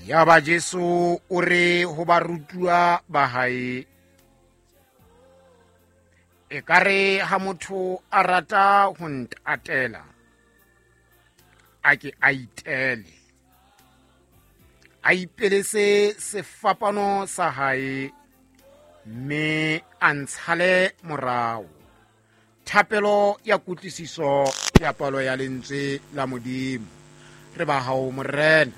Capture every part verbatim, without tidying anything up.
Yaba Jesu o re ho barutuwa ba hae, ekare ha motho a rata ho ntatela, a ke a itele, a ipelese sefapano sa hae, mme a ntshale morao. Thapelo ya kutlwisiso ya palo ya lentswe la Modimo. Re ba hao Morena.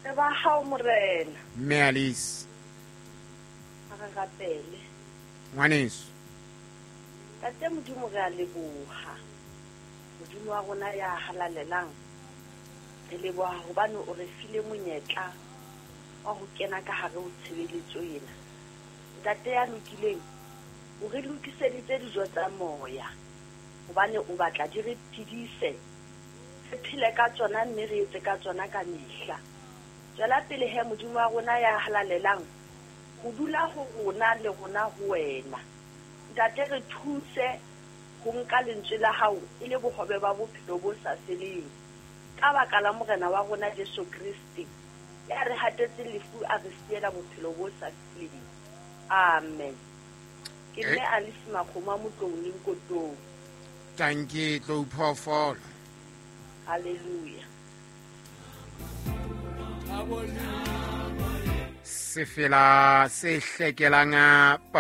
Re ba hao Morena. Mme Alice. A re rapele. Ngwaneso. Ntate Modimo re a leboha. Modimo wa rona ya halalelang. Re leboha hobane o re file monyetla wa ho kena ka hare ho tshebeletso ena. Ntate ya lokileng, o re lokiseditse dijo tsa moya hobane o batla di re phedise, re phele ka tsona mme re etse ka tsona ka mehla. Tswela pele he Modimo wa rona ya halalelang ho dula ho rona le rona ho wena. Ntate re thuse ho nka lentswe la hao e le bohobe ba bophelo bo sa feleng. Ka baka la Morena wa rona Jesu Kriste ya re hatetse lefu a re siela bophelo bo sa feleng. Amen. Ke mme Alice Makgoma Motlong le Nkotong. Tanki tlo phoofolo. Hallelujah. Sefela se hlekelang.